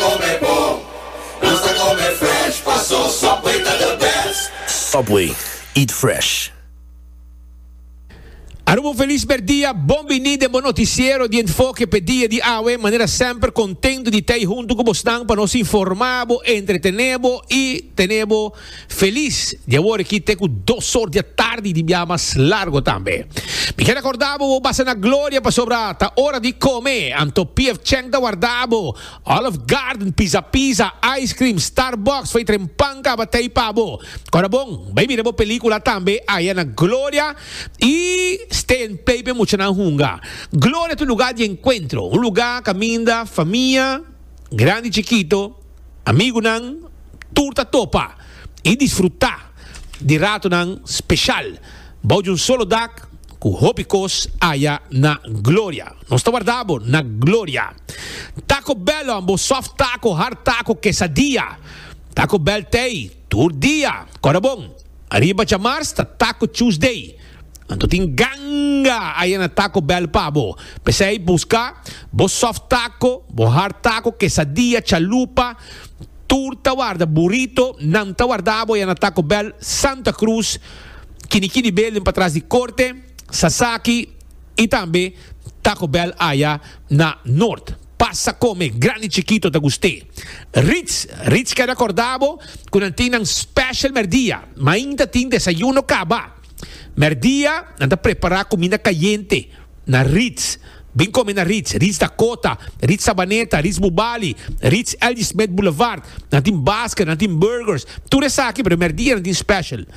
come bon, nos ta come fresh, paso Subway ta the best. Subway, eat fresh. Aruba un felis merdia, bon bini den bo noticiero di Enfoke p'e dia di awe. Manera semper contento di tei hunto cu bosnan pa nos informa bo, entretene bo y tene bo felis di awor aki te cu dos or di atardi di bia mas largo tambe. Mi kier acorda bo bo basa na Gloria pasobra ta ora di come, anto PF Chang ta warda bo, Olive Garden, Pizza Pizza, Ice Cream, Starbucks, fai tren pan caba tei pa bo. Cora bon, bay mira bo pelicula tambe aya na Gloria y stay and play p'e muchanan hunga. Gloria ta un lugar di encuentro, un lugar caminda famia, grandi y chikito, Amigunan tur ta topa i disfrutá di ratonan speshal bou di un solo dak ku hopi kos aya na Gloria. Nos ta warda bo na Gloria. Taco Bell on bo soft taco, hard taco, quesadilla. Taco Bell t'ei tur dia. Kòrda bon, ariba djamars ta Taco Tuesday. Anto tin ganga aya na Taco Bell pa bo. P'esei buska bo soft taco, bo hard taco, quesadilla, chalupa, tur ta warda, burrito, nan ta warda bo aya na Taco Bell, Santa Cruz, Kinikini Building patras di Corte, Sasaki y tambe Taco Bell aya na Noord. Pasa come, grandi chikito ta gust'é. Ritz, Ritz keda corda bo cu nan tin nan special merdia. Mainta tin desayuno caba. Merdia nan ta prepará kuminda kayente na Ritz. Bin kome na Ritz, Ritz Dakota, Ritz Sabaneta, Ritz Bubali, Ritz LG Smith Boulevard. Nan tin basket, nan tin burgers, tur esaki, pero merdia nan tin special.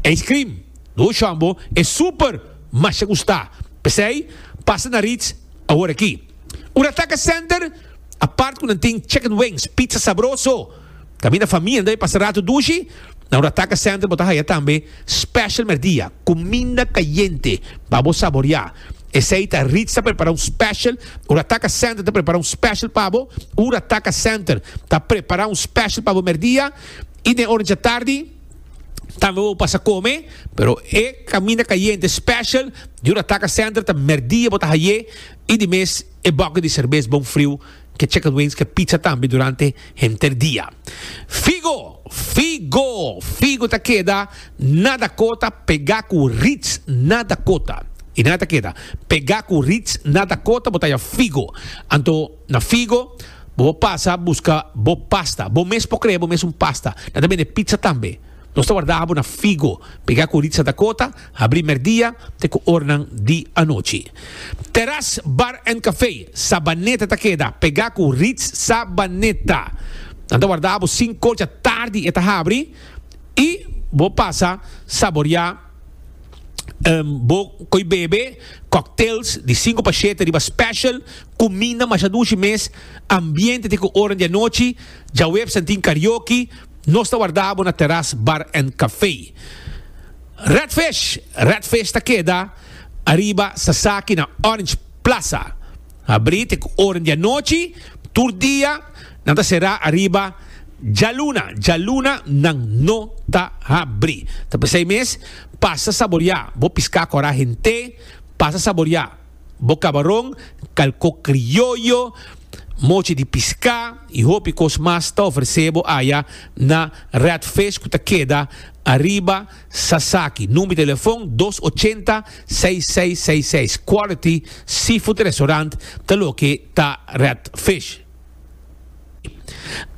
Ice cream, dushi ambo, e super masha gusta. P'esei, pasa na Ritz awor aki. Urataka Center, apart ku nan tin chicken wings, pizza sabroso. Kaminda famia nan ta pasa ratu dushi, na Urataka Center bo ta haya tambe special merdia, kuminda kayente pa bo saboria. Esei ta Ritz ta prepara un special, Urataka Center ta prepara un special pa bo, Urataka Center ta prepara un special pa bo merdia i den ora djatardi tambe bo pasa kome, pero e kaminda kayente special di Urataka Center ta merdia bo ta haye i di mes e boki di serbes bon friu. Ke chicken wings ke pizza tambe durante henter dia. Figo! Figo! Figo ta keda na Dakota pegá ku Ritz na Dakota. I nan ta keda pegá ku Ritz na Dakota bo ta haya Figo. Anto na Figo bo por pasa buska bo pasta. Bo mes por krea bo mes un pasta. Nan ta bende pizza tambe. Nos ta warda bo na Figo pegá ku Ritz na Dakota. Habrí mèrdia te ku oranan di anochi. Terras Bar and Café, Sabaneta ta keda pegá ku Ritz Sabaneta. Nan ta warda bo sinku dja tardi e ta habri i bo pasa saboriá bo koi bebe cocktails di sinku pa shete riba special, kuminda masha dushi mes, ambiente te ku oran di anochi. Djaweps nan tin karaoke. Nos ta warda bo na Terras Bar and Café. Red Fish, Red Fish ta keda ariba Sasaki na Orange Plaza. Habrí te ku oren di anochi, tur dia nan ta será ariba djaluna. Djaluna nan no ta habrí. Ta p'esei mes, pasa saboriá bo piská kòrá hent'é, pasa saboriá bo kabaron, kalkó krioyo, mochi di piská i hopi kos mas ta ofresé bo aya na Red Fish ku ta keda ariba Sasaki. Number di telefon, dos ochenta, seis seis seis seis. Quality Seafood Restaurant ta loke ta Red Fish.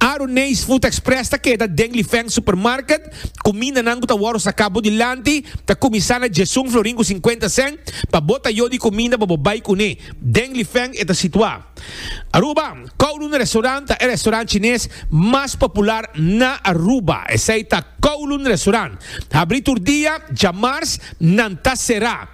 Aruneis Food Express ta keda den Lifeng Supermarket. Kumindanan ku ta wòrdu saká bo dilanti ta kuminsá na djesun florin ku sinkuenta sèn pa bo tayo di kuminda pa bo bai kuné. Den Lifeng e ta situá. Aruba, Kowloon Restaurant ta e restaurant chines mas popular na Aruba. Esei ta Kowloon Restaurant. Habrí tur dia, djamars nan ta será.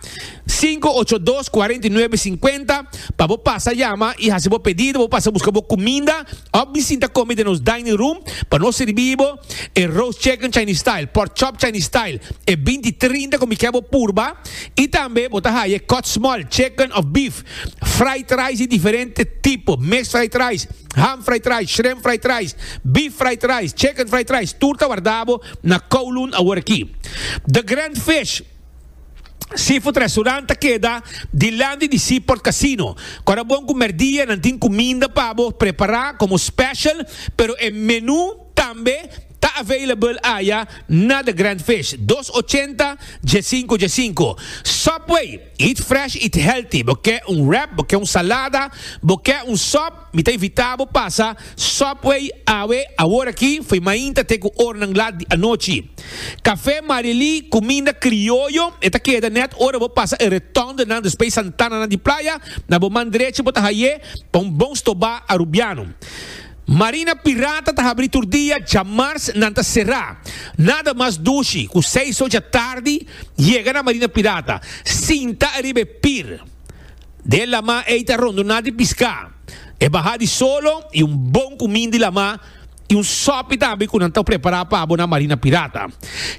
Sinku ocho dos kuarenta i nuebe sinkuenta pa bo pasa yama i hasi bo pedido, bo pasa buska bo kuminda òf bin sinta kome den nos dining room pa nos sirbi bo e roast chicken Chinese style, pork chop Chinese style, e binti trinta ku mi ke bo purba i tambe bo ta haya e cut small chicken òf beef, fried rice di diferente tipo, mixed fried rice, ham fried rice, shrimp fried rice, beef fried rice, chicken fried rice, tur ta warda bo na Kowloon aworakí. The Grand Fish. Seafood Restaurant ta keda dilanti di Seaport Casino. Kora bon ku merdia nan tin kuminda pa bo prepará komo special, pero e menu tambe ta available aya na The Grand Fish. Dos ochenta, diesinko diesinko. Subway, eat fresh, eat healthy. Bo ke un wrap, bo ke un salada, bo ke un sop? Mi ta invitá bo pasa Subway awe awor aki fo'i mainta te ku oranan lat di anochi. Café Marily, kuminda krioyo, e ta keda nèt ora bo pasa e retondenan despues Santananan di Playa, na bo man drechi bo ta hay'é pa un bon stobá Arubiano. Marina Pirata ta habrí tur dia, djamars nan ta será. Nada mas dushi ku seis ocha tardi yega na Marina Pirata, sinta ariba e pir. Den lamá ei ta rondoná di piská, e bahá di solo i un bon kuminda di lamá i un sòpi tambe ku nan ta prepará pa bo na Marina Pirata.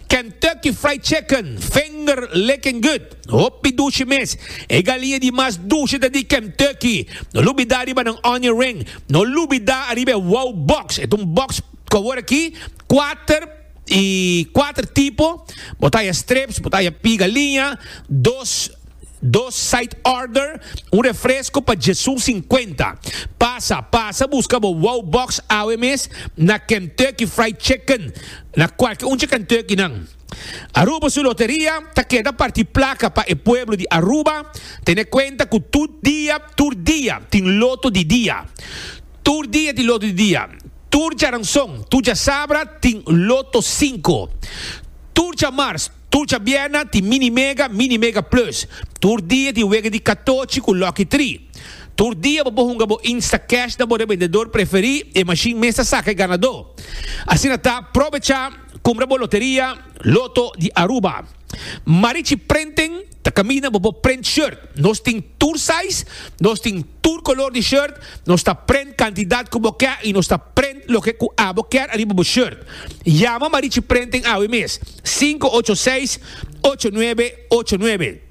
Kentucky Fried Chicken, finger licking good, hopi dushi mes. E galiña di mas dushi ta di Kentucky. No lubidá riba nan onion ring. No lubidá ariba e wow box. E ta un box ku awor aki kuater i kuater tipo. Bo ta haya strips, bo ta haya pi galiña, dos. Dos side order, un refresco pa djesun sinkuenta. Pasa, pasa busca bo wow box awe mes na Kentucky Fried Chicken, na cualke un dje Kentucky nan. Aruba su loteria ta keda parti placa pa e pueblo di Aruba. Tene cuenta cu tur dia, tur dia tin loto di dia. Tur dia tin loto di dia. Tur djaranson, tur djasabra tin loto cinco. Tur djamars, Tur djabièrnè tin Mini Mega, Mini Mega Plus. Tur dia tin wega di katochi ku Lucky Tree. Tur dia bo por hunga bo Instacash na bo rebendedor preferí, e mashin mes ta saka e ganadó. Asina ta, probechá, kumpra bo loteria, Lotto di Aruba. Marichi Printing ta kaminda bo por print shirt. Nos tin tur size, nos tin tur color di shirt, nos ta print cantidad cu bo kier y nos ta print loke cu abo kier ariba bo shirt. Yama Marichi Printing awe mes, 586 8989.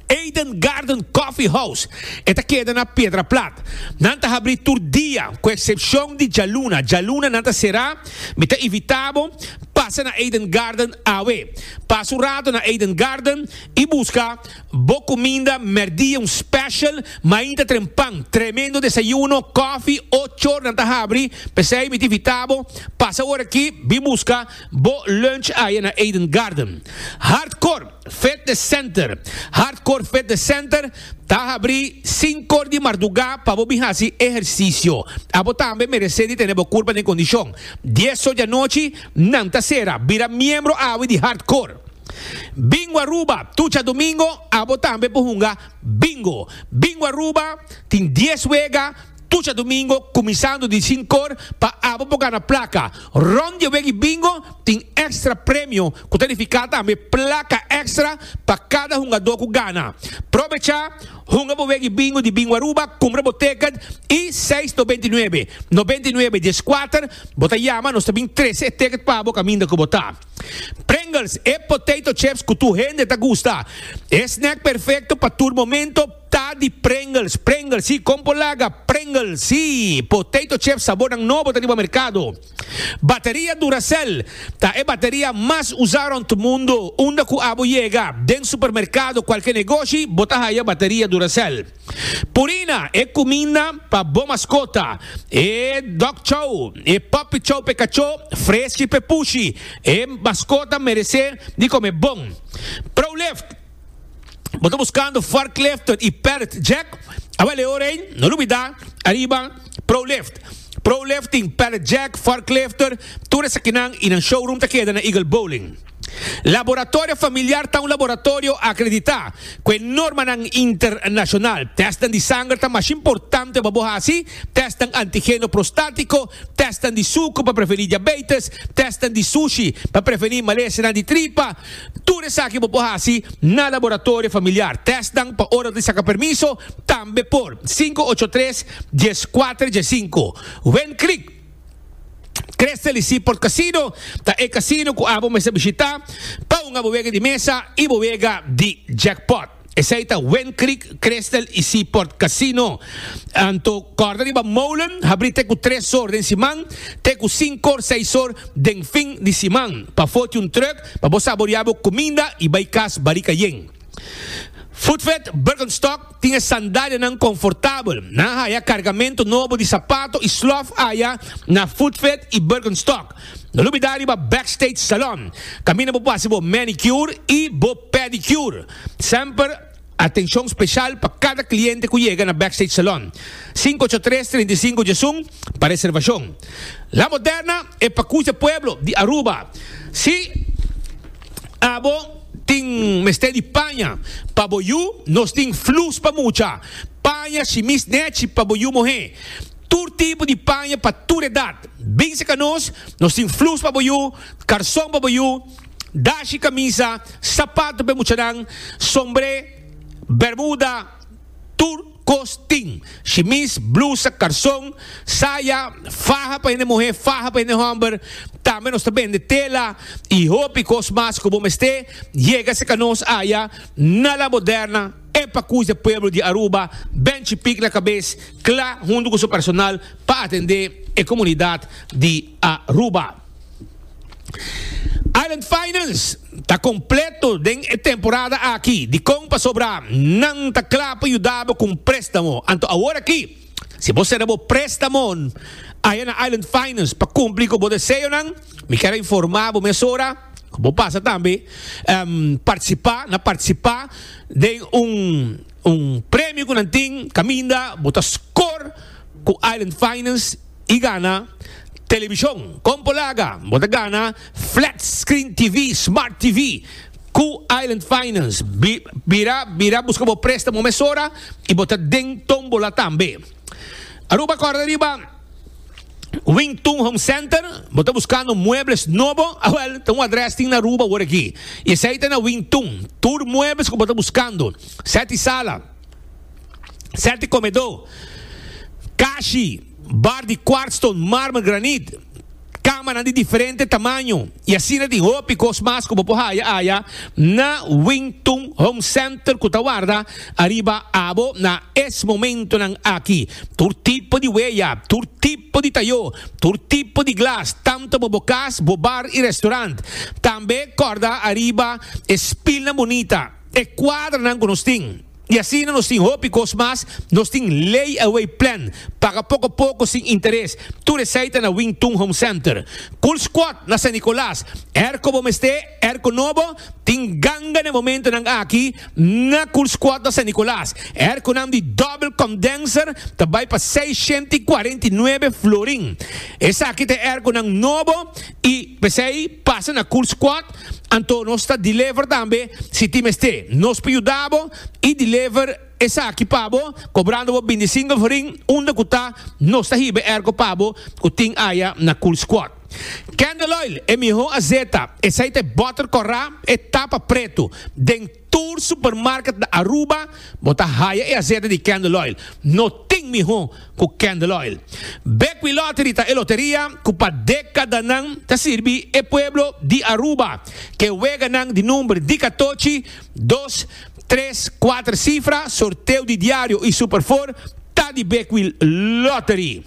Eden Garden Coffee House, e ta keda na Piedra Plat. Nan ta habri tur dia, cu excepcion di djaluna. Djaluna nan ta cera. Mi ta invita bo pasa na Eden Garden awe. Pasa un rato na Eden Garden y busca Bo kuminda mèrdia un special, mainta trempan, tremendo desayuno, kòfi, ochor nan ta habri, p'esei mi ta invita bo pasa ora aki bin buska bo lunch aya na Eden Garden. Hardcore Fitness Center Hardcore Fitness Center ta habri sinkor di mardugá pa bo bin hasi ehersisio. Abo tambe meresé di tene bo kurpa den kondishon. Dies or di anochi nan ta sera. Bira miembro awe di Hardcore. Bingo Aruba, tur djadomingo abo tambe por hunga bingo. Bingo Aruba tin dies wega tur djadomingo kuminsando di sinkor pa abo por gana plaka. Rond di e wega di bingo tin extra premio ku ta nifiká tambe plaka extra pa kada hungadó ku gana. Probechá, hunga bo wega di bingo di Bingo Aruba, kumpra bo ticket i seis 99, 99 dieskuater bo ta yama nos ta bin trese e ticket pa bo kaminda ku bo ta. Pringles, e potato chips cu tur hende ta gusta. E snack perfecto pa tur momento ta di Pringles. Pringles, si, con por laga? Pringles, si, potato chips sabornan nobo ta riba mercado. Bateria Duracell ta e bateria mas usa rond mundo. Unda cu abo yega, den supermercado, cualke negoshi, bo ta haya bateria Duracell. Purina, e kuminda pa bo maskota, e dog chow, e puppy chow p'e kachó, freski p'e pushi. E maskota meresé di kome bon. Prolift, Bo ta buskando forklifter i pallet jack? Awel e ora ei, no lubidá ariba Prolift. Prolift tin pallet jack, forklifter, tur esakinan i nan showroom ta keda na Eagle Bowling. Laboratorio Familiar ta un laboratorio akreditá ku e normanan internashonal. Tèstnan di sanger ta masha importante pa bo hasi, tèstnan antigeno prostátiko, tèstnan di suku pa prevení diabetes, tèstnan di sushi pa prevení malesanan di tripa. Tur esaki bo por hasi na Laboratorio Familiar. Tèstnan pa ora di saka permiso tambe por. 583 14 15. Wincreek. Crystal y Seaport Casino ta e casino cu abo mester bishita pa hunga bo wega di mesa y bo wega di jackpot. Esei ta Wind Creek, Crystal y Seaport Casino. Anto corda riba Molen, habri te cu tres or den siman, te cu cinco or, seis or den fin di siman. Pafó tin un truck pa bo saborea bo cuminda y bay cas barica yen. Footfit Birkenstock tin e sandalianan confortabel. Nan a haya cargamento nobo di sapato y slof aya na Footfit y Birkenstock. No lubida riba Backstage Salon, caminda bo por haci bo manicure y bo pedicure. Semper atencion special pa cada cliente cu yega na Backstage Salon. 583 35 11 pa reservacion. La Moderna e pacucha pueblo di Aruba. Si abo tin mester di paña pa bo yu, nos tin flus pa mucha, paña shimis nechi pa bo yu muhe, tur tipo di paña pa tur edad. Bin cerca nos, nos tin flus pa bo yu, carson pa bo yu, dashi camisa, sapato pa e muchanan, sombre, bermuda, tur kos tin. Shimis, blusa, karson, saya, faha pa hende muhé, faha pa hende hòmber. Tambe nos ta bende tela i hopi kos mas ku bo mester. Yega serka nos aya na La Moderna, e pakus di pueblo di Aruba, Benchi Pik na kabes, kla huntu ku su personal pa atendé e komunidat di Aruba. Island Finance ta completo den e temporada aki. Dicon? Pasobra nan ta cla pa yuda bo cu un prestamo. Anto awor aki, si bo cera bo prestamo aya na Island Finance pa cumpli cu bo deseonan, mi kier a informa bo mesora cu bo pasa tambe participa na participa den un un premio cu nan tin caminda bo ta score cu Island Finance. y gana television con Polaga bo ta gana flat screen TV smart TV cu Island Finance bira bira busca bo prestamo mesora y bo ta den tombola tambe Aruba corda riba Wing Tun Home Center bo ta buscando muebles nobo awel ta un adres tin na Aruba awor aki y esey ta na Wing Tun tur muebles cu bo ta buscando seti sala. Sèti komedó, kashi, bar di kwartston, marmer, granit, kamanan di diferente tamaño i asina tin hopi kos mas ku bo por haya aya na Wing Tun Home Center ku ta warda ariba abo na es momentonan aki. Tur tipo di weya, tur tipo di tayó, tur tipo di glas, tanto pa bo kas, bo bar i restaurant. Tambe kòrda ariba e spilnan bunita. E kuadranan ku nos tin. I asina nos tin hopi kos mas, nos tin lay away plan, paga poko poko sin interes, tur esei ta na Wing Tun Home Center. Cool Squad na San Nicolas, airco bo mester, airco nobo, tin ganga na e momentonan aki na Cool Squad na San Nicolas. Airconan di double condenser ta bai pa 649 florin. Esaki ta e airconan nobo i p'esei pasa na Cool Squad. Anto nos ta deliver tambe si tin mester. Nos por yuda bo y deliver esaki pa bo cobrando bo bintisinko florin unda cu ta nos ta hiba e airco pa bo cu tin aya na Cool Squad. Candle Oil e miho azeta esey ta e boter cora e tapa preto den Tur supermarket na Aruba bo ta haya e azeta di Candle Oil. No tin miho cu Candle Oil. Bekwee Lottery ta e loteria cu pa decadanan ta sirbi e pueblo di Aruba. Ke weganan di number di catochi, dos, tres, cuater cifra, sorteo di diario y Super Four ta di Bekwee Lottery.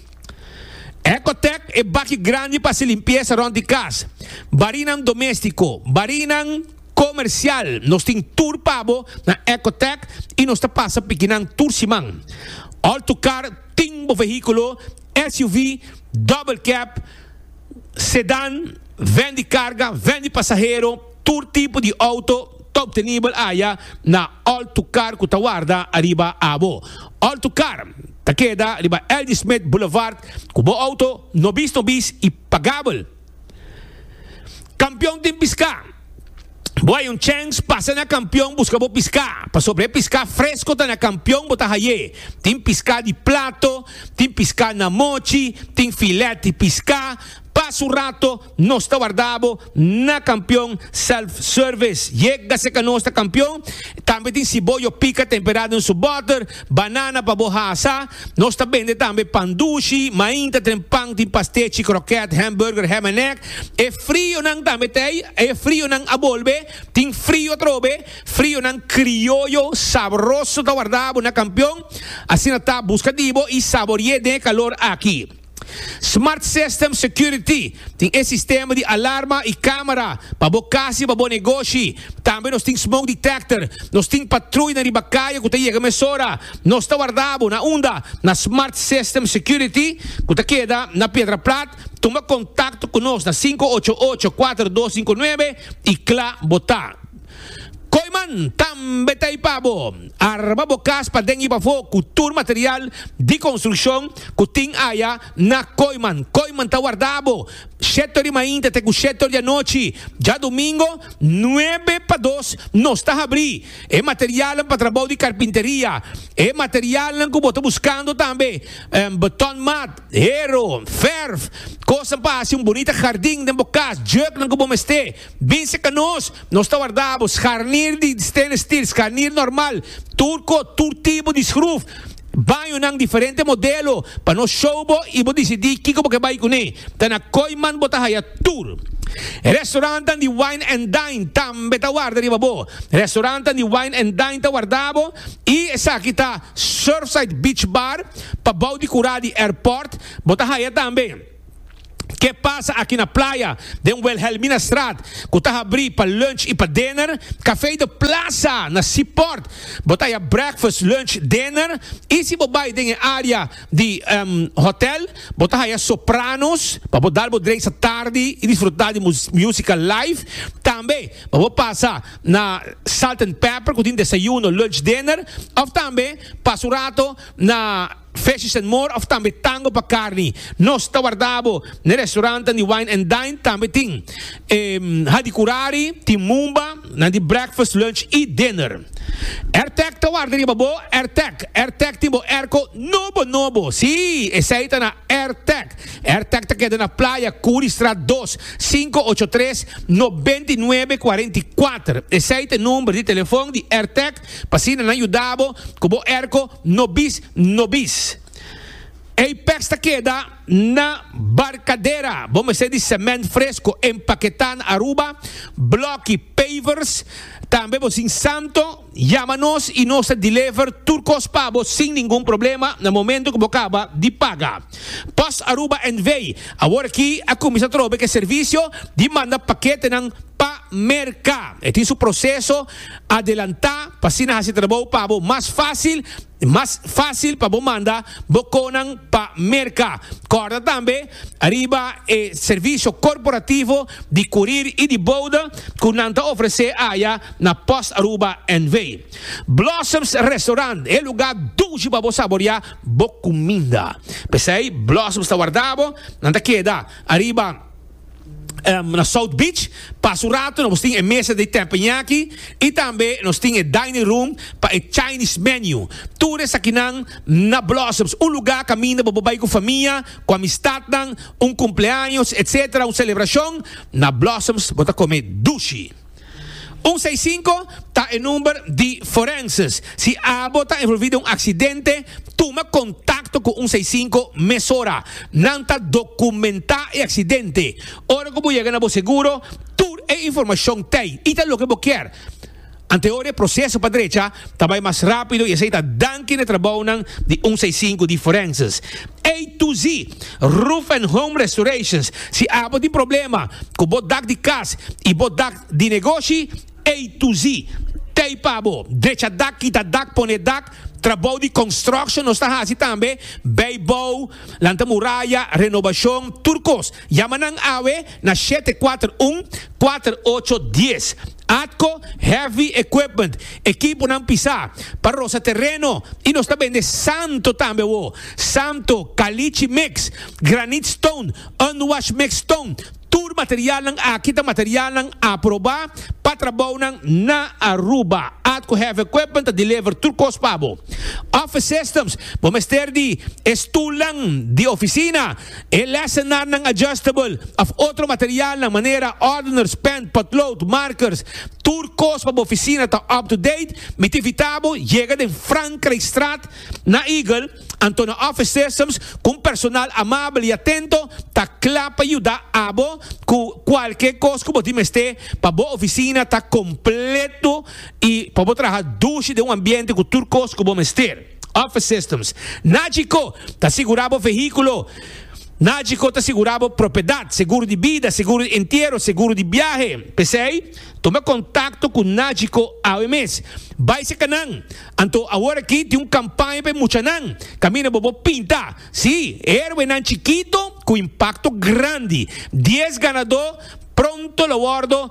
Ecotec e baki grandi pa haci limpieza rond di cas. Barinan domestico, barinan. Comercial, nos tin tur pa bo na Ecotec y nos ta pasa pikinan tur siman. All to Car tin bo vehiculo, SUV, double cab, sedan, van di carga, van di pasahero, tur tipo di auto ta obtenibel aya na All to Car cu ta warda ariba abo. All to Car ta keda riba LG Smith Boulevard cu bo auto nobis nobis y pagabel. Kampion tin piská. Bo hay un chèns, pasa na Kampion buska bo piská. Pasobra e piská fresko ta na Kampion bo ta hay'é. Tin piská di plato, tin piská na mochi, tin filèt di piská. Pasa un rato, nos ta warda bo na Kampion Self Service. Yega serka nos ta Kampion. Tambe tin siboyo pika temperá den su bòter, banana pa bo hasa. Nos ta bende tambe pan dushi, mainta ten pan, tin pastechi, kroket, hamburger, ham and egg. E frionan tambe ta ei, e frionan a bolbe, tin frio atrobe, frionan krioyo sabroso ta warda bo na Kampion. Asina ta, buska di bo i sabori'é den e kalor aki. Smart System Security tin e sistema di alarma y camera pa bo cas y pa bo negoshi. Tambe nos tin smoke detector. Nos tin patruyanan riba caya cu ta yega mesora. Nos ta warda bo na unda? Na Smart System Security cu ta keda na Piedra Plat. Tuma contacto cu nos na 588 4259 y cla bo ta. Kooiman tambe ta ei pa bo. Arma bo kas paden i pafó ku tur material di konstrukshon ku tin aya na Kooiman. Kooiman ta warda bo shete or di mainta te ku shete or di anochi. Djadumingo nuebe pa dos nos ta habrí. E materialnan pa trabou di karpinteria, e materialnan ku bo ta buskando tambe, betonmat, hero, fèrf, kosnan pa hasi un bunita hardin den bo kas, jùknan ku bo mester. Bin serka nos, nos ta warda bo, scharnier di stainless steel, scharnier normal, tur ko, tur tipo di schroef, bañonan diferente modelo, pa nos show bo y bo dicidi kico bo ke bay cune. Ta na Kooiman bo ta haya tur. Restaurantnan di Wine and Dine tambe ta warda riba bo. Restaurantnan di Wine and Dine ta warda bo y esaki ta Surfside Beach Bar, pabou di cura di airport, bo ta haya tambe. Ke pasa aki na playa den Wilhelminastraat ku ta habrí pa lunch i pa dinner? Café de Plaza na Seaport bo ta haya breakfast, lunch, dinner i si bo bai den e area di hotel bo ta haya Sopranos pa bo dal bo drinks atardi i disfruta di musica live. Tambe pa bo pasa na Salt and Pepper ku tin desayuno, lunch, dinner of tambe pasa un rato na. Fishes and More of tambe Tango pa Carni. Nos ta warda bo n'e restaurantan di Wine and Dine. Tambe tin Hadicurari, tin Mumba, nan di breakfast, lunch y dinner. Airtec ta warda riba bo, Airtec. Airtec tin bo airco nobo nobo. Sí, esey ta na Airtec. Airtec ta keda na Playa Curistraat dos, 583 99 44. Esey ta e number di telefon di Airtec pa asina nan yuda bo cu bo airco. No bis, no bis. Apex ta keda na Barcadera. Bo mester di cement fresco empaketá na Aruba, bloki, pavers. Tambe bo sin santo, yama nos y nos ta deliver tur cos pa bo sin ningun problema na momento cu bo caba di paga. Post Aruba NV. Awor aki a cuminsa trobe cu e servicio di manda paketenan pa Merca. E tin su proceso Adelantá pa asina hasi trabou pa bo mas fásil, mas fásil pa bo manda bo konan pa Merka. Kòrda tambe riba e servisio korporativo di kurir i di boude ku nan ta ofresé aya na Post Aruba NV. Blossoms Restaurant, e lugá dushi pa bo saboriá bo kuminda. P'esei Blossoms ta warda bo, nan ta keda ariba. Na South Beach, pasa un rato nos tin e mesa di teppanyaki y tambe nos tin e dining room pa e Chinese menu. Tur esakinan na Blossoms, un lugar caminda bo por bay cu famia, cu amistadnan, un cumpleaños etc. Un celebracion, na Blossoms bo ta come dushi. Un seis sinku ta e number di forenses. Si abo ta envolvi den un aksidente, tuma kontakto ku un seis sinku mesora. Nan ta dokumentá e aksidente. Ora ku bo yega na bo seguro, tur e informashon t'ei i ta loke bo kier. Anteor e proseso pa drecha ta bai mas rápido i esei ta danki na e trabounan di un seis sinku di forenses. A to Z, Roof and Home Restorations, Si abo tin problema ku bo dak di kas i bo dak di negoshi, A to Z t'ei pa bo. Drecha dak, kita dak, pone dak, trabou di construction nos ta hasi tambe, bijbouw, lanta muraya, renobashon, tur kos. Yama nan awe na 741 4810. Atco Heavy Equipment, ekiponan pisá pa rosa tereno i nos ta bende santo tambe awo. Santo, caliche mix, granite stone, unwash mix stone. Tur materialnan aki ta materialnan aproba pa trabounan na Aruba. Atco Heavy Equipment ta deliver tur kos pa bo. Office Systems, bo mester di e stulnan di oficina, e lessenarnan adjustable of otro materialnan manera ordeners, pen, potlood, markers, tur kos pa bo oficina ta up to date. Mi ta invita bo yega den Frankrijkstraat na Eagle. Anto na Office Systems ku un personal amabel i atento ta kla pa yuda abo ku kualke kos ku bo tin mester pa bo ofisina ta kompleto i pa bo traha dushi den un ambiente ku tur kos ku bo mester. Office Systems Nagico ta sigurá bo vehíkulo. Nagico ta sigurá bo propiedat, seguro di bida, seguro di entiero, seguro di biahe. P'esei, tuma kontakto ku Nagico awe mes. Bai seka nan! Anto awor aki tin un kampaña pa e muchanan kaminda bo por pinta, sí, héroenan chikito ku impakto grandi. Dies ganadó pronto lo wòrdu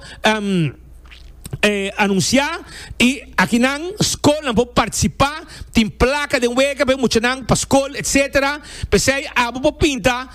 anunsiá i akinan skolnan por partisipá. Tin plaka den wega pa e muchanan pa skol etsetera. P'esei abo por pinta,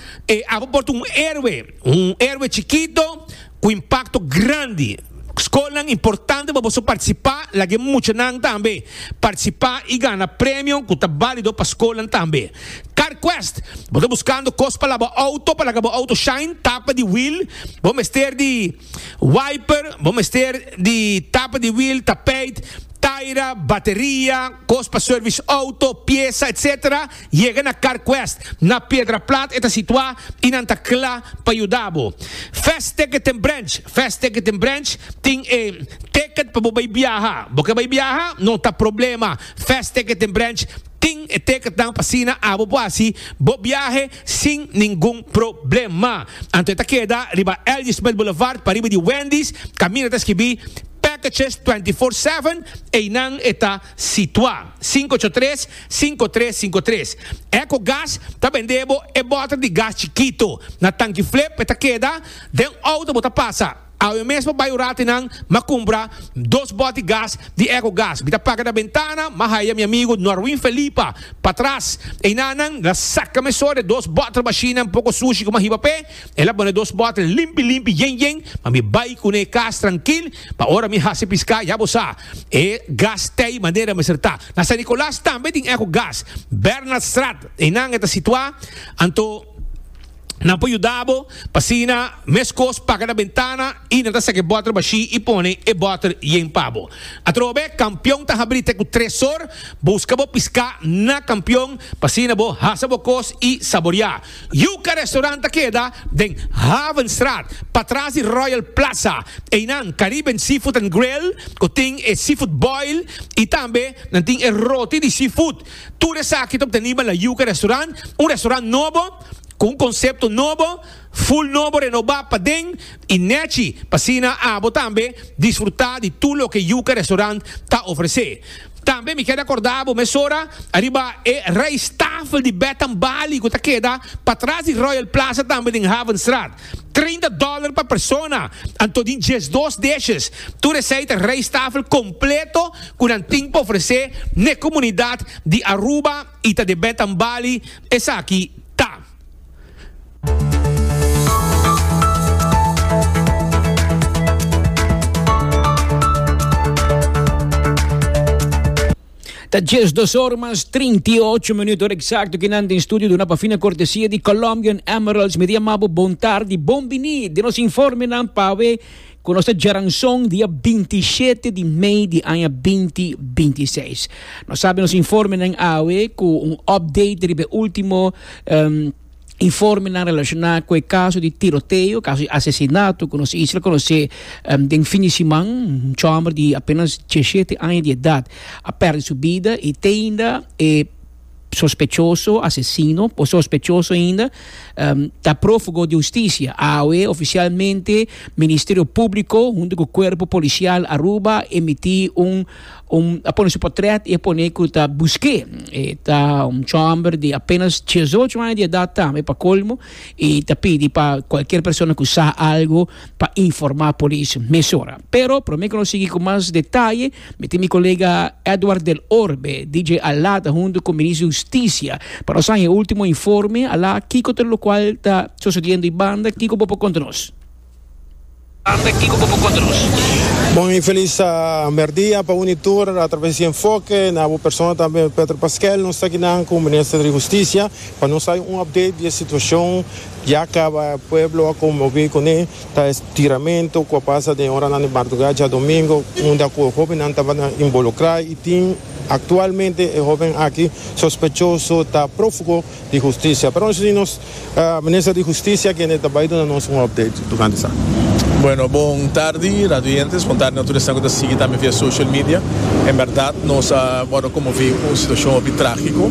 abo por ta un héroe, un héroe chikito ku impakto grandi. Skolnan importante pa boso partisipá, laga e muchanan tambe partisipá i gana premio ku ta bálido pa skolnan tambe. CarQuest, Bo ta buskando kos pa laba outo, pa laga bo outo shine, tapa di wiel, bo mester di wiper, bo mester di tapa di wiel, tapijt, taira, bateria, kos pa service outo, piesa, etc. Yega na CarQuest na Piedra Plat e ta situá i nan ta kla pa yuda bo. Fast Ticket and Branch Fast Ticket and Branch tin e ticket pa bo bai biaha. Bo ke bai biaha? No ta problema. Fast Ticket and Branch tin e ticketnan pa asina abo por hasi bo biahe sin ningun problema. Anto e ta keda riba L. G. Smith Boulevard pariba di Wendy's kaminda ta skibí Packages 24/7 einan e ta situá. 583 5353. Ecogas ta bende bo e bòter di gas chikito. Na tanki Flip e ta keda den outo bo ta pasa. Awe mes bo bai un ratu einan m'a kumpra dos bòt di gas di Ecogas. Mi ta paga na bentana, m'a haya mi amigu Norwin Felipa patras. Einan nan la saka mesora e dos bòter bashinan poko sushi ku m'a hiba p'e. El a pone dos bòter limpi limpi yen yen pa mi bai kuné kas trankil pa ora mi hasi piská ya bo sa e gas tei manera mester ta. Na San Nicolas tambe tin eco gas. Bernardstraat, einan e ta situá, anto nan por yuda bo pa asina meskos paga na bentana i nan ta saka e bòter bashí i pone e bòter yen pa bo. Atrobe, Kampion ta habrí te ku tres or. Buska bo piská na Kampion pa asina bo hasa bo kos i saboriá. Yuca Restaurant ta keda den Havenstraat, patras di Royal Plaza. Einan Caribbean Seafood and Grill ku tin e seafood boil i tambe nan tin e roti di seafood. Tur esaki ta obtenibel na Yuca Restaurant, un restaurant nobo ku un konsepto nobo, full nobo renobá paden i nechi pa asina abo tambe disfrutá di tur loke Yuca Restaurant ta ofresé. Tambe mi keda korda bo mesora ariba e rijsttafel di Beth Bali ku ta keda patras di Royal Plaza tambe den Havenstraat. 30 dollar pa persona, anto tin 12 dishes. Tur esei ta rijsttafel kompleto ku nan tin pa ofresé n'e komunidat di Aruba i ta di Beth Bali esaki ta. Ta 12 or mas 38 minuut, hora exacto ki nan den studio duna pa fina cortesia di Colombian Emeralds. Mi ta yama bo bon tardi, bon bini den nos informenan pawe ku nos ta djaranson dia 27 di mei di aña 2026. Nos sabi nos informenan awe ku un update riba e ultimo informenan relaciona cu e caso di tiroteo, caso di asesinato cu nos isla conoce den fin di siman. Un chomber di apenas diesshete aña di edad a perde su bida y te ainda e sospechoso, asesino o sospechoso ainda ta profugo di husticia. Awe oficialmente Ministerio Publico hunto cu Cuerpo Policial Aruba a emiti un Un a pone su portret y a pone cu ta busque. E ta un chomber di apenas diesocho aña di edad tambe pa colmo y ta pidi pa cualkier persona cu sa algo pa informa polis mesora. Pero prome cu nos sigui cu mas detaye mi tin mi colega Edward del Orbe, DJ Alá ta hunto cu Ministro di Husticia pa nos haña e ultimo informe. Alá, kico ta locual ta sucediendo y banda? Kico bo por conta nos? Anda kiko bo por konta nos? Bon y feliz merdia pa uni tur a traves di Enfoke, na bo persona tambe Pedro Pasquel. Nos ta akinan cu Minister di Husticia pa nos hay un update di e situacion ya caba pueblo a conmovi cune ta e tiramento cu a pasa den oranan di marduga djadomingo unda cu e hobennan tabata involucra y tin actualmente e hoben aki sospechoso ta profugo di Husticia. Pero nos tin nos Minister di Husticia kende ta bay duna nos un update tocante esaki. Bueno, bon tardi radioyentes, bon tardi na tur esnan cu ta sigui tambe via social media. En berdad nos a wordo conmovi cu un situacion hopi tragico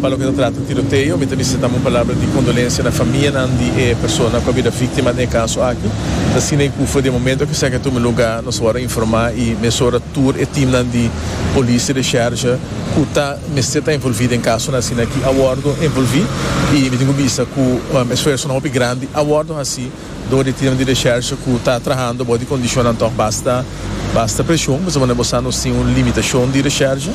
pa loke ta trata tiroteo. Mi ta bisa tambe un palabra di condolencia na famianan di e persona cu a bira victima den e caso aki. Ta asina cu for di e momento cu esaki a tuma lugar nos a wordo informa y mesora tur e teamnan di polis y recherche cu ta mester ta envolvi den casonan asina aki a wordo envolvi y mi tin cu bisa cu esfuerzonan hopi grandi a wordo haci door di teamnan di recherche cu ta trahando bou di condicionnan toch basta basta presion pasobra bo sa nos tin un limitacion di recherche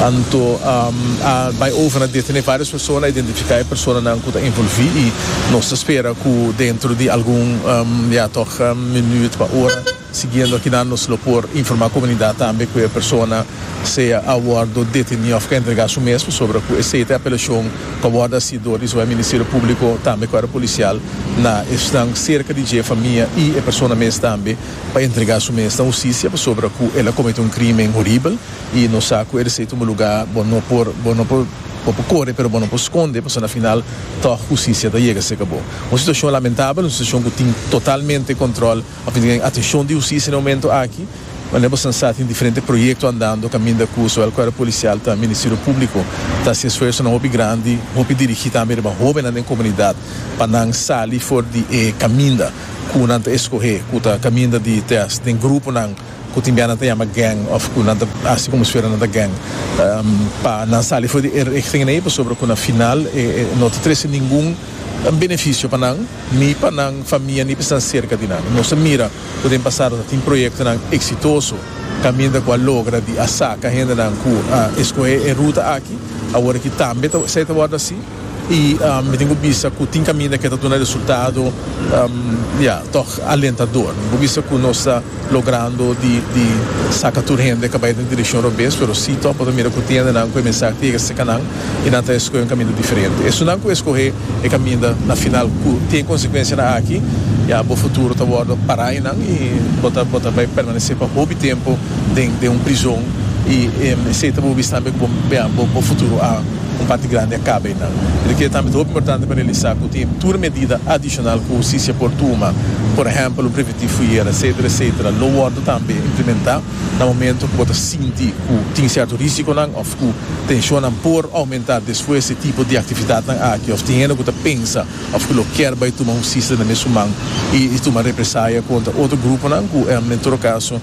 anto a bay over na detene varios persona identifica e personanan cu ta envolvi y nos ta spera cu dentro di algun ya toch minuut pa ora. Siguiendo akinan nos lo por informa comunidad tambe cu e persona sea a wordo deteni of cu a entrega su mes pasobra cu esey ta e apelacion cu a wordo haci door di zowel Ministerio Publico tambe Cuerpo Policial na esnan cerca di dje, famia y e persona mes tambe pa entrega su mes na husticia pasobra cu el a comete un crimen horibel y nos sa cu esey tuma lugar bo no por bo no por bo por core pero bo no por sconde pasobra na final toch husticia ta yega cerca bo. Un situacion lamentabel, un situacion cu tin totalmente control. A fin di atencion di husticia na e momento aki, manera boso sa tin diferente proyecto andando caminda cu zowel Cuerpo Policial ta Ministerio Publico ta haci esfuerzonan hopi grandi, hopi dirigi tambe riba hobennan den comunidad pa nan sali for di e caminda cu nan ta escoge cu ta caminda di test den gruponan cu tin bia nan ta yama gang of cu nan ta haci como si fuera nan ta gang pa nan sali for di e richting ei pasobra cu na final e no ta trece ningun beneficio pa nan. Ni pa nan famia ni pa esnan serka di nan. Nos a mira ku den pasado ta tin proyektonan eksitoso kaminda ku a logra di a saka hendenan ku a eskohé e ruta aki. Awor aki tambe ta esei ta wòrdu hasi i mi tin ku bisa ku tin kaminda ke ta duna resultado ya tòg alentador. Mi por bisa ku nos ta logrando di di saka tur hende ka bai den direkshon robes pero si tòg bo ta mira ku tin hendenan ku e mensahe ta yega serka nan. i nan ta eskohe un kaminda diferente. Esunnan ku eskohe e kaminda na final ku tin e konsekuensianan aki, ya bo futuro ta wòrdu pará einan i bo ta bo ta bai permanesé pa hopi tempu den den un prizon i esei ta bo bisa tambe ku bo ya bo bo futuro a un parti grandi a kaba einan. Mi ta kere tambe ta hopi importante pa realisá ku tin tur medida adishonal ku hustisia por tuma, por ehèmpel un preventiv fuyera etsetera etsetera lo wòrdu tambe implementá. Na momento ku bo ta sinti ku tin sierto risikonan òf ku tenshonnan por oumentá despues di tipo di aktividatnan aki òf tin hende ku ta pensa òf ku lo kier bai tuma hustisia den mes su man i tuma represaya kontra otro gruponan ku en todo kaso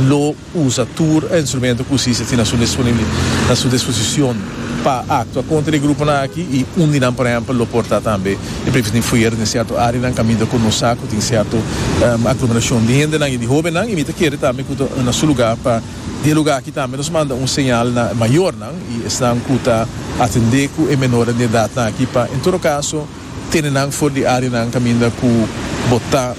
lo usa tur instrumento ku hustisia tin na su na su disposishon pa aktua kontra e gruponan aki i un di nan por ehèmpel lo por ta tambe e previshon di fuera den sierto áreanan kaminda ku nos sa ku tin sierto aglomerashon di hendenan i di hóbennan i mi ta kere tambe ku ta na su lugá pa di e lugá aki tambe nos manda un señal na e mayornan i esnan ku ta atendé ku e menornan di edatnan aki pa en todo kaso tene nan for di áreanan kaminda ku bo ta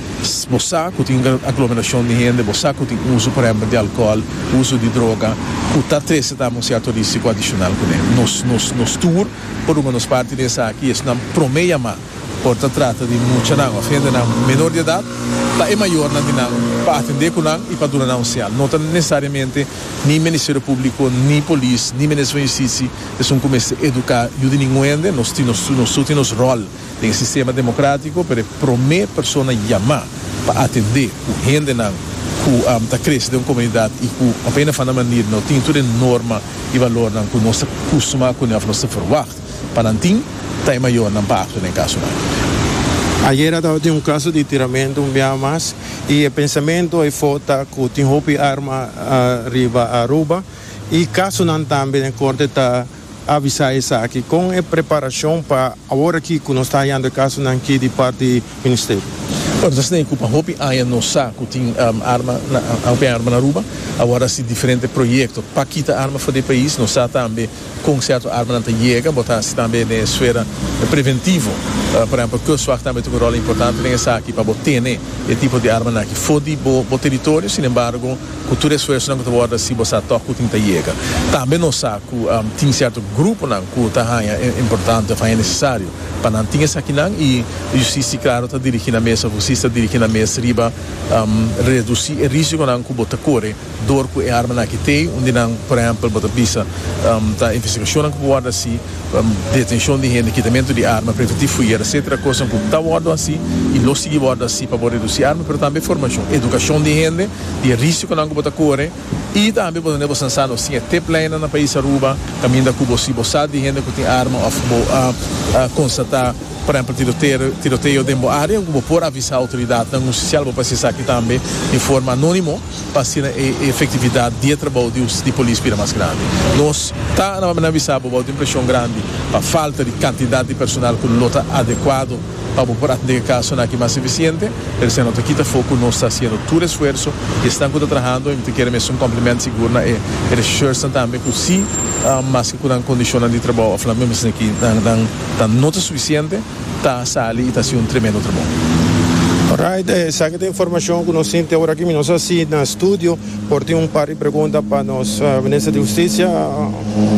bo sa ku tin un aglomerashon di hende bo sa ku tin uso por ehèmpel di alkòl uso di droga ku ta trese tambe un sierto risiko adishonal kuné nos nos nos tur Por duna nos parti den esaki, esnan promé yamá por ta trata di muchanan òf hendenan menor di edat, ta e mayornan di nan pa atendé ku nan i pa duna nan un señal. No ta nesesariamente ni Ministerio Públiko, ni polis, ni Minister van Justisi esun ku mester eduká yu di ningun hende. Nos tin nos nos tur tin nos ròl den e sistema demokrátiko, pero e promé persona yamá pa atendé ku hendenan ku ta krese den un komunidat i ku op een of ander manir no tin tur e norma E balornan ku nos ta kustumá kuné òf nos ta ferwagt pa nan tin, ta e mayornan pa aktua den e kasonan aki. Ayera tabatin un kaso di tiramentu un biaha mas i e pensamentu ayfó ta ku tin hopi arma riba Aruba i kasonan tambe den korte ta avisá esaki. Kon e preparashon pa awor aki ku nos ta hayando e kasonan aki di parti Ministerio? Bueno, ta asina ku pa hopi aña nos sa ku tin arma na hopi arma na Aruba. Awor a hasi diferente proyekto pa kita arma for di e pais. Nos sa tambe kon sierto armanan ta yega. Bo ta hasi tambe den e esfera preventivo. Por ehempel, Kustwacht tambe ta un ròl importante den esaki pa bo tene e tipo di armanan aki for di bo teritorio. Sin embargo, ku tur e esfuersonan ku ta wòrdu hasi bo sa tòg ku tin ta yega. Tambe nos sa ku tin sierto gruponan ku ta haña importante òf haña nesesario pa nan tin esakinan i Justisia klaro ta dirigí nan mes òf hustisia ta dirigí nan mes riba redusí e risikonan ku bo ta kore dor ku e armanan aki t'ei. Un di nan, por ehèmpel, bo ta bisa ta investigashonnan ku por wòrdu hasi, detenshon di hende, kitamentu di arma, preventiv fuyer, etcetera, kosnan ku ta wòrdu hasi i lo sigui wòrdu hasi pa bo redusí arma, pero tambe formashon, edukashon di hende di e risikonan ku bo ta kore i tambe bo ta bo san sa nos tin e tiplijnnan na pais Aruba kaminda ku bo si bo sa di hende ku tin arma òf bo a konstatá por ehempel tiroteo den bo área ku bo por avisá outoridatnan hustisial bo por hasi esaki tambe di forma anónimo pa asina e efektividat di e trabou di polis bira mas grandi. Nos ta na bisa bo bou tin preshon grandi pa falta di kantidat di personal ku lo ta adekuado pa bo por atendé e kasonan aki mas efisiente, pero esei no ta kita afó ku nos ta hasiendo tur esfuerso i esnan ku ta trahando i mi ta kere mester un kompliment sigur na e reshèrsnan tambe ku si maske ku nan kondishonnan di trabou òf nan mester aki nan ta no ta sufisiente ta sali i ta hasi un tremendo trabou. Alright, esaki ta informashon ku nos tin te ora aki. Mi no sa si na studio por tin un par di pregunta pa nos Minister di Hustisia,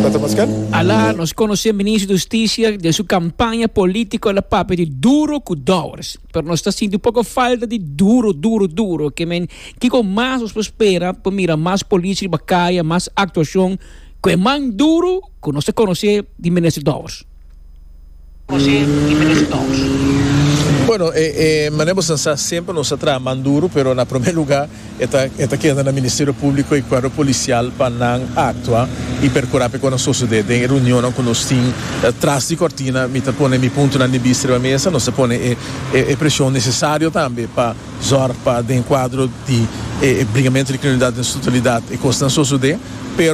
Petro Paskel. Ala nos konosé Minister di Hustisia den su kampaña polítiko el a papia di duro ku dòwers, pero nos ta sinti un poko falta di duro, duro, duro. Ke men kiko mas nos por spera pa mira mas polis riba kaya, mas aktuashon ku e man duro ku nos ta konosé di Minister Dòwers? Bueno, e manera bo san sa semper nos a traha man duro, pero na prome luga e ta e ta keda na Ministerio Publico y Cuerpo Policial pa nan actua y percura pa e cosnan sosode. Den e reunionnan cu nos tin tras di cortina mi ta pone mi puntonan di bista riba mesa, nos ta pone e e presion necesario tambe pa zorg pa den cuadro di e bringamento di criminalidad den su totalidad e cosnan sosode, pero.